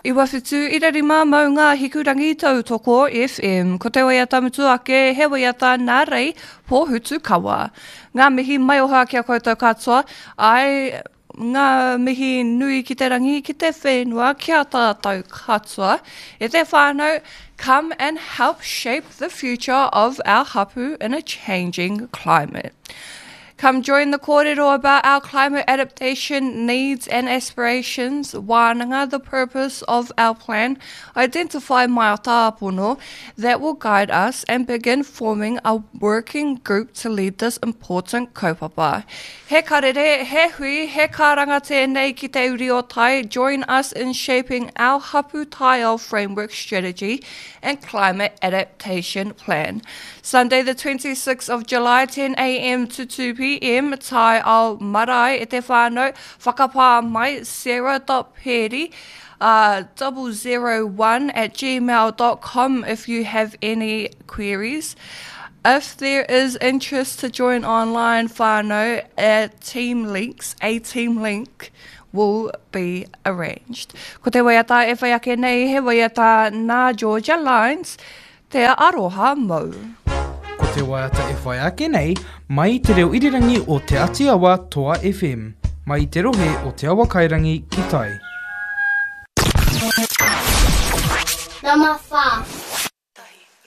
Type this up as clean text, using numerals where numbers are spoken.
97.5 Maunga Hikurangi Tautoko FM. Ko te waiata mutu ake, he waiata nā Rei Pōhutukawa. Ngā mihi maioha ki a koutou katoa, āe, ngā mihi nui ki te rangi, ki te whenua, ki a tātou katoa. E te whānau, come and help shape the future of our hapu in a changing climate. Come join the kōrero about our climate adaptation needs and aspirations, wānanga the purpose of our plan, identify mātāpono that will guide us and begin forming a working group to lead this important kaupapa. He karere, he hui, he karanga tēnei ki te uri o tai, join us in shaping our hapu taiao framework strategy and climate adaptation plan. Sunday the 26th of July 10am to 2pm Taiao Marae e te whānau, whakapā mai sarah.peri uh, 001 at gmail.com if you have any queries. If there is interest to join online whānau, a team links, a team link will be arranged. Ko te waiata e whai ake nei, he waiata nā Georgia Lines, Te aroha mou. Ko te waiata e whai ake nei, mai i te reo irirangi o Te Ati Awa Toa FM, mai i te rohe o Te Awakairangi ki tai. Number 4.